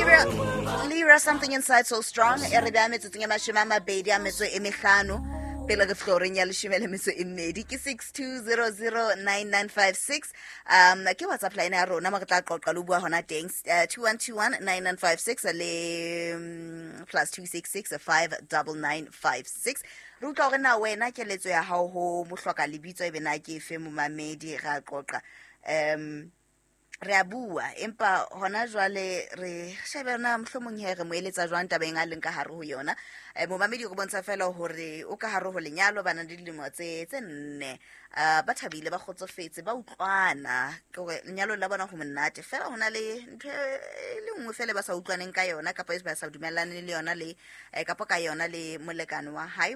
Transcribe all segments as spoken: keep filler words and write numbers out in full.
Lira, Lira, Something Inside So Strong. E re beha metsotsong e mashome a mabedi a metso e mehlano pele re fihla horeng ya leshome le metso e mmedi. Ke six two zero zero nine nine five six. Um, ke WhatsApp line ya rona mo re tla qoqa le ho bua hona teng. Uh, two one two one nine nine five six le mm, plus two six six five double nine five six. Re utlwa hore na wena keletso ya hao ho mohloka lebitso ebe na ke efe momamedi, ra qoqa. Um, re a bua empa hona jwale re shebe na mohlomong he re mo eletsa jwang tabeng a leng ka hare ho yona. Eh, momamedi o bontsha fela hore o ka hare ho lenyalo, ba na le dilemo tse tse nne. Uh, ba thabile, ba kgotsofetse, ba utlwana. Ke hore lenyalo la bona ho monate fela, ho na le ntho e le nngwe fela ba sa utlwaneng ka yona kapa e ba sa dumellane le yona le, eh, kapa ka yona le molekane wa hae,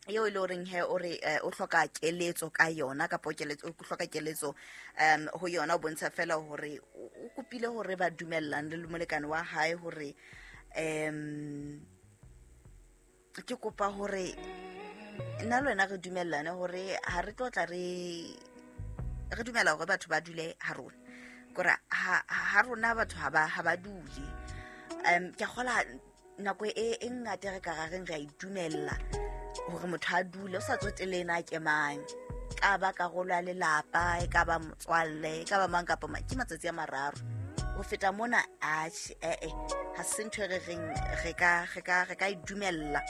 eo e le horeng he o re, eh, o hloka keletso ka yona kapa keletso, o hloka keletso, um, ho yona. O bontsha fela hore o, o kopile hore ba dumellane le molekane wa hae hore, um, ke kopa hore nna le wena re dumellane hore ha re tlo tla re, re dumela hore batho ba dule ha rona. Kore ha, ha rona batho ha ba, ha ba dule. Um, ke a kgola nako e, e ngata re ka ra reng re a itumella hore motho a dule, o sa tsotelle na ke mang, ka ba karolo ya lelapa, e ka ba motswalle, e ka ba mang kapa mang, ke matsatsi a mararo. Ho feta mona, atjhe, eh, eh, ha se ntho e re reng re ka, re ka, re ka e dumella.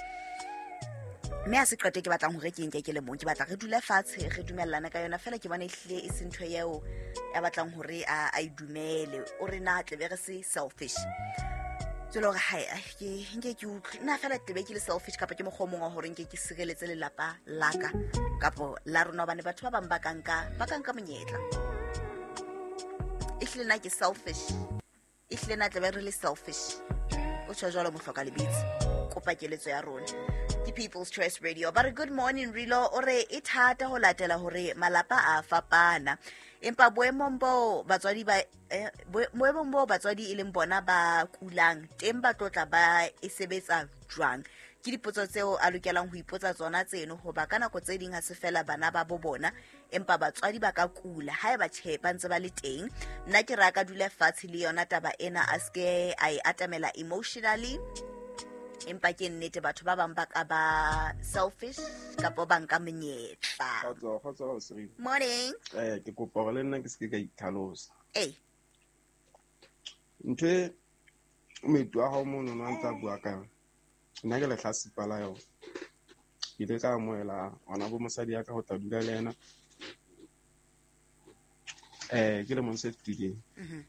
Mme ha se qeto e ke batlang hore ke nke ke le mong, ke batla re dule fatshe, re dumellane ka yona fela. Ke bona ehlile e se ntho eo ya batlang hore a, a e dumele. O re na tle be re se selfish. Tswela hore hai, ai, ke, nke ke utlwe. Nna fela tle be ke le selfish kapa ke mokgwa o mong wa hore nke ke sireletse lelapa la ka kapo la rona, hobane batho ba bang ba ka nka, ba ka nka monyetla. Ehlile nna ke selfish. Ehlile nna tle be re le selfish. O tjho jwalo mohloka lebitso. Kopa keletso ya rona. Ke People's Choice Radio. Ba re good morning Rilo, o re e thata ho latela hore malapa a fapana. Empa boemong bo batswadi ba, eh, boe-, boemong bo batswadi e leng bona ba kulang teng, ba tlotla ba e sebetsa jwang? Ke dipotso tseo a lokelang ho ipotsa tsona tseno, hoba ka nako tse ding ha se fela bana ba bo bona, empa batswadi ba ka kula haeba tjhe ba ntse ba le teng. Nna ke re a ka dula fatshe le yona taba ena, a ske a e atamela emotionally. Empa ke nnete batho ba bang ba ka ba selfish kapa ba nka monyetla. Kgotso, kgotso, Siri. Morning. Eh, ke kopa hore le nna ke se ke ka itlhalosa. Eh. Ntho e moeti wa hao mono no a ntse a bua ka yona, nna ke lehlatsipa la yona. Ke ile ka amohela ngwana bo mosadi ya ka ho tla dula le yena. Eh, ke lemong se fetileng. Mhm.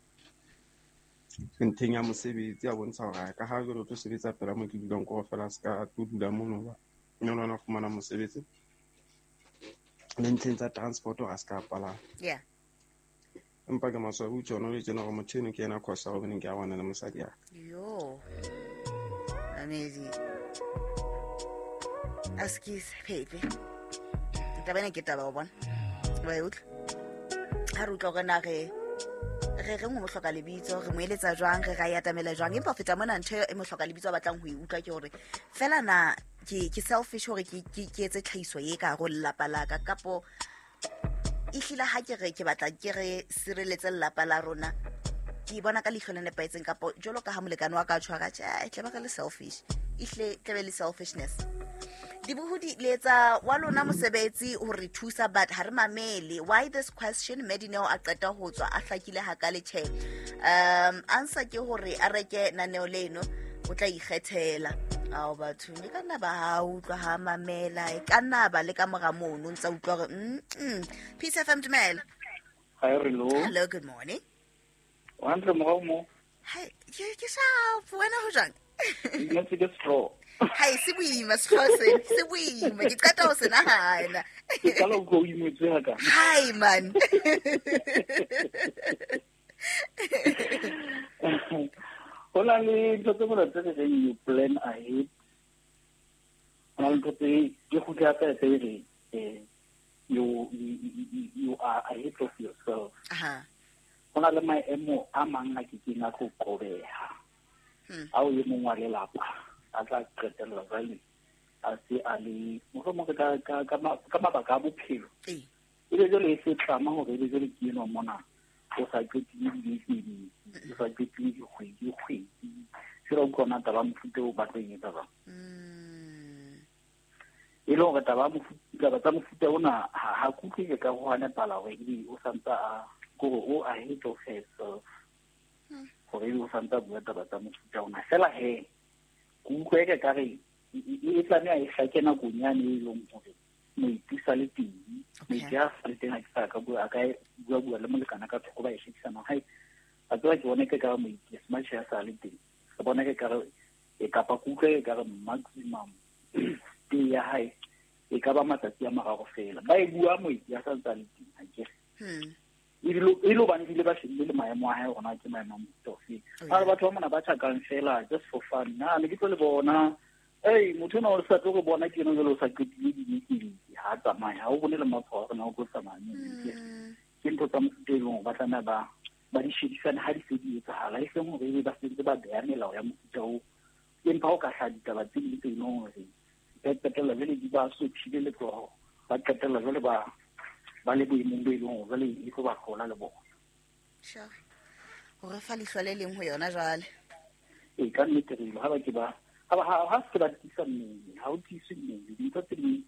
Ntheng ya mosebetsi a bontsha hore ka ha jwale o tlo sebetsa pela mo ke dulang ko fela, se ka tlo dula mono ba mme le wena o fumana mosebetsi. Le ntlheng tsa transport hore a se ka palama. Yeah. Empa ke maswabi ho tjho, le tjena hore motho eno ke yena cause ya hobaneng ke a bona le mosadi ya ka. Yo. Amazing. Askies, Pepe. Taba ena ke taba wa bona. Wa e utlwa? Ha re utlwa hore na re, re reng ho mohloka lebitso, re mo eletsa jwang, re ra e atamela jwang. Empa ho feta mona, ntho e mohloka lebitso a batlang ho e utlwa ke hore fela na ke, ke selfish hore ke, ke, ke etse tlhahiso e ka hare ho lelapa la ka, kapo ehlile ha ke re ke batla ke re sireletse lelapa la rona, ke bona ka leihlo le nepahetseng, kapo jwalo ka ha molekane wa ka a tjho, a ka tjhe, e tla ba re le selfish, ehlile tla be le selfishness. Dibohodi le etsa wa lona mosebetsi ho re thusa, but ha re mamele. Why this question? Medineo a qeta ho tswa a hlakile hakale tjhe. Um, answer ke hore a reke naneo leno, o tla ikgethela. Ao batho, e ka nna ba ha utlwa ha mamela, e ka nna ba le ka mora mono, o ntsa utlwa hore, mm, mm. Peace F M, dumela. Hi, hello. Hello, good morning. Wa hantle morao mo? Hi, ke, ke sharp, wena ho jwang? Nna ke straw. Hai, se boima sehlooho se, se boima. Ke qeta ho se nahana. Ke qala ho utlwa o imetswe haka. Hai, man. Ho na le ntho tse mona tse re reng you plan ahead. Ho na le ntho tse ke kgutle hape tse re, eh, you, you, you, you are ahead of yourself. Aha. Ho na le maemo a mang a ke keng a tlo qobeha. Hmm. Ha o e mong wa lelapa a tla qetella jwale a se a le mohlomong ka, ka, ka ma-, ka mabaka a bophelo. Ee. Ebe jwale e se tlama hore ebe jwale ke enwa mona O sa qetile dibeke, o sa qetile dikgwedi kgwedi. Sera o kgona taba mofuta o batlo e etsa jwang. E le hore taba mofuta tsa mofuta ona ha ha kutlwe ka ho hana pala hore ebe o santsa a kore o ahead of herself. Hore ebe o santsa bua taba tsa mofuta ona. Fela he ke utlwe ke ka re e tlameha e hlake nakong yane e leng hore moeti sa le teng. Moeti ha sa le teng ha ke sa ka bua a ka bua bua le molekana ka thoko ba e shebisana. Hai a tseba ke bona ke ka re moeti smart ya sa le teng. Ke bona ke ka re e kapa ke utlwe ke ka re maximum stay ya hae e ka ba matsatsi a mararo fela. Ba e bua moeti ya sa ntsa le teng ha ke re. Ebile e lo bane bile ba shebile le maemo a hae hore na ke maemo a mofuta ofe. Ha re batho ba mona ba tjhakang fela just for fun. Na ne ke tlo le bona. Ei motho ona o sa tlo go bona ke ena jwale o sa qetile dibeke ha tsamaye ha o bone le matshwao a rona o tlo tsamaya. Ke ntho tsa mofuta e leng hore ba tlameha ba ba di shebisane ha di se di etsahala e seng hore ebe ba sentse ba beha melao ya mofuta oo. Empa ho ka hlaha ditaba tse ding tse leng hore ba qetella jwale di ba sothile letsoho, ba qetella jwale ba ba le boemong bo e leng hore jwale e tlo ba hlola le bona. Sure. Hore fa leihlo le leng ho yona jwale. Ee, ka nnete re ha ba ke ba ha ba ha se ba tiisa mmele, ha o tiise mmele dintho tse ding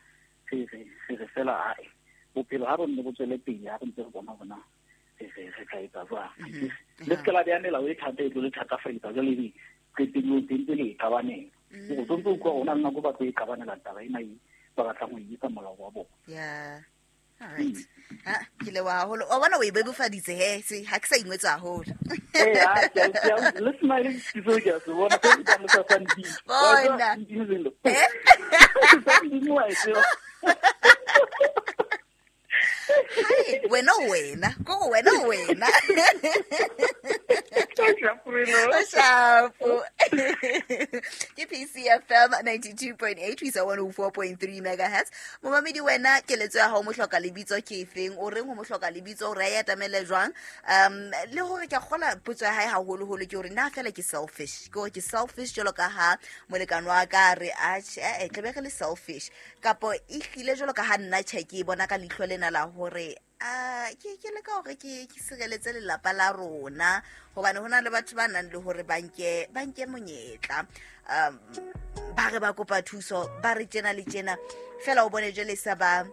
re re re re fela ae bophelo ha re nne bo tswele pele ha re ntse re bona hore na re re re tla etsa jwang. Le se ke la beha melao e thata e tlo le thatafaletsa jwale ebe qetellong teng tse le e qabanela. O tsontse o utlwa hore ho na le nako ba tlo e qabanela taba ena e ba batlang ho e etsa molao wa bona. Yeah. All right. Ha ke leboha haholo. O bona o e bebofaditse he, se ha ke sa ingwetsa haholo. Eh, ha ke a le smile ke so ke a se bona se ke le sa santsi. Bona. Eh? Hai, wena wena, ko wena wena. Shapo. Ke P C F M ninety-two point eight, we one oh four point three megahertz. Momamedi wena keletso ya hao mohloka lebitso ke efeng? O reng ho mohloka lebitso o re ya tamele jwang? Um le hore ke kgola potso ya hae haholoholo ke hore na fela ke selfish. Ke hore ke selfish jwalo ka ha molekane wa ka re a tjhe, tlabe re le selfish. Kapo e hlile jwalo ka ha nna tjhe ke bona ka leihlo lena la hore a ke ke le ka hore ke ke sireletse lelapa la rona hobane hona le batho ba nang le hore ba nke ba nke monyetla um ba re ba kopa thuso ba re tjena le tjena fela o bone jwale sa ba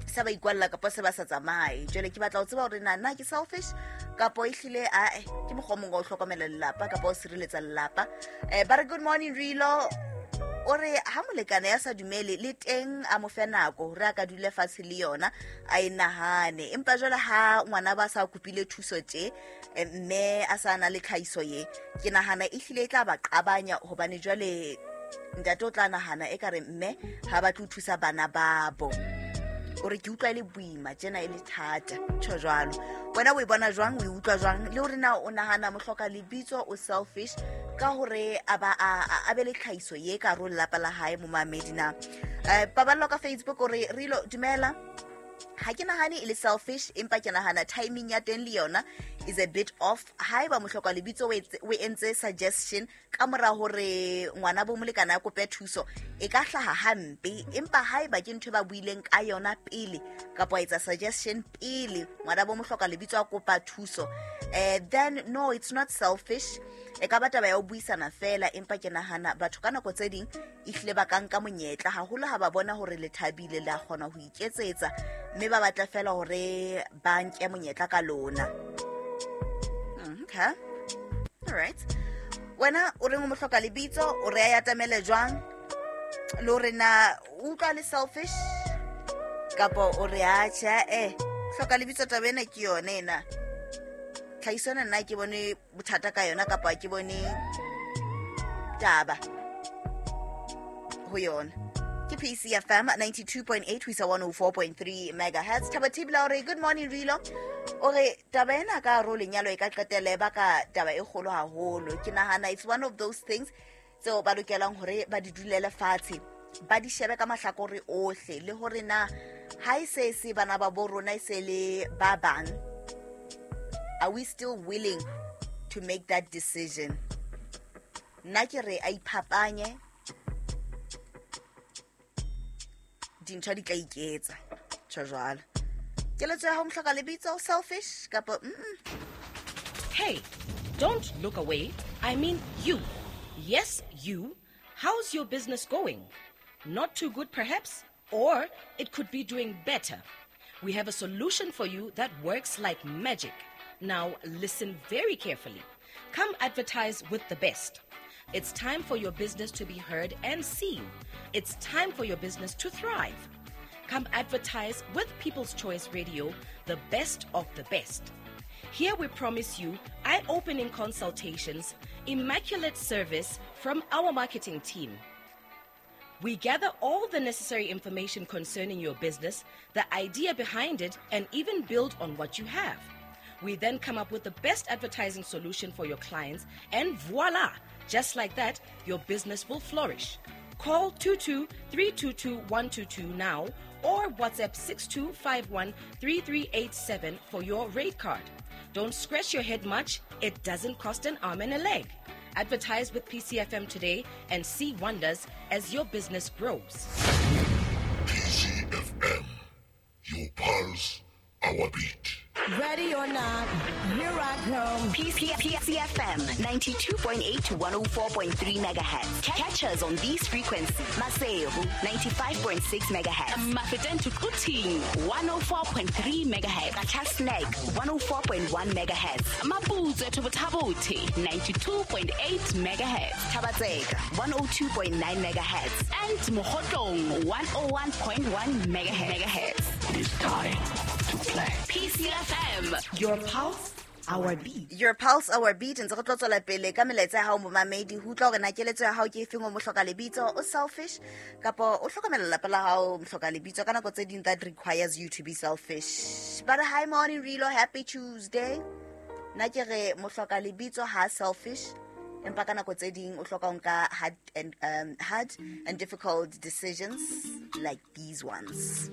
sa ba ikwalla kapa se ba sa tsamaye. Jwale ke batla ho tseba hore na na ke selfish kapo e hlile a ke mokgwa o mong wa ho hlokomela lelapa kapa o sireletsa lelapa. Eh ba re good morning Rilo. O re ha molekane ya sa dumele le teng a mo fe nako hore a ka dule fatshe le yona a e nahane. Empa jwale ha ngwana ba sa kopile thuso tje mme a sa na le tlhahiso ye ke nahana e hlile e tla ba qabanya hobane jwale ntate o tla nahana e ka re mme ha ba tlo thusa bana babo. O re ke utlwa e le boima tjena e le thata tjho jwalo. Wena o e bona jwang, o e utlwa jwang le hore na o nahana mohloka lebitso o selfish ka hore a ba a be le tlhahiso ye ka ro lelapa la hae momamedi na. Eh paballo ka Facebook o re Rilo dumela ha ke nahane e le selfish empa ke nahana timing ya teng le yona is a bit off. Haeba mohloka lebitso o entse suggestion ka mora hore ngwana bo molekana a kope thuso e ka hlaha hampe, empa haeba ke ntho ba buileng ka yona pele kapa etsa suggestion pele ngwana bo mohloka lebitso a kopa thuso eh then no it's not selfish. E ka ba taba ya ho buisana fela empa ke nahana batho ka nako tse ding ehlile ba ka nka monyetla haholo ha ba bona hore le thabile le a kgona ho iketsetsa mme ba batla fela hore ba nke monyetla ka lona. Okay. All right. Wena o reng o mohloka lebitso o re ya tamele jwang le hore na o utlwa le selfish kapo o re a tjhe eh hloka lebitso taba ena ke yone ena tlhahiso ena nna ke bone bothata ka yona kapa ke bone taba ho yona. Ke P C F M ninety-two point eight ho isa one oh four point three megahertz. Thabo Thibela o re good morning Rilo. O re taba ena ka ro lenyalo e ka qetelle ba ka taba e kgolo haholo. Ke nahana it's one of those things tseo ba lokelang hore ba di dulele fatshe ba di shebe ka mahlakore ohle le hore na ha e se se bana ba bo rona e se le ba bang, are we still willing to make that decision? Nna ke re a iphapanye dintho di tla iketsa tjho jwalo. Keletso ya hao mohloka lebitso, selfish kapa mm Hey, don't look away. I mean you. Yes, you. How's your business going? Not too good, perhaps? Or it could be doing better. We have a solution for you that works like magic. Now, listen very carefully. Come advertise with the best. It's time for your business to be heard and seen. It's time for your business to thrive. Come advertise with People's Choice Radio, the best of the best. Here we promise you eye opening consultations, immaculate service from our marketing team. We gather all the necessary information concerning your business, the idea behind it, and even build on what you have. We then come up with the best advertising solution for your clients, and voila! Just like that, your business will flourish. Call two two three two two one two two now or WhatsApp six two five one three three eight seven for your rate card. Don't scratch your head much, it doesn't cost an arm and a leg. Advertise with P C F M today and see wonders as your business grows. P C F M, your pulse, our beat. Ready or not, here I come. P C F M ninety-two point eight to one oh four point three megahertz. Catch us on these frequencies. Maseru ninety-five point six megahertz. Mafeteng to Quthing one oh four point three megahertz. Qacha's one oh four point one megahertz. Maputswe to Botha-Bothe ninety-two point eight megahertz. Thaba-Tseka one oh two point nine megahertz. And Mokhotlong one oh one point one megahertz. It is time to play. P C F M. Your pulse, our beat. Your pulse, our beat. Ntse re tlo tswela pele ka melaetsa ya hao momamedi. Ho utlwa hore na keletso ya hao ke efeng o mohloka lebitso, o selfish kapa o hlokomela lelapa la hao mohloka lebitso. Ka nako tse ding that requires you to be selfish. But hi morning Rilo, happy Tuesday. Nna ke re mohloka lebitso ha selfish, empa ka nako tse ding o hloka ho nka hard and um, hard and difficult decisions like these ones.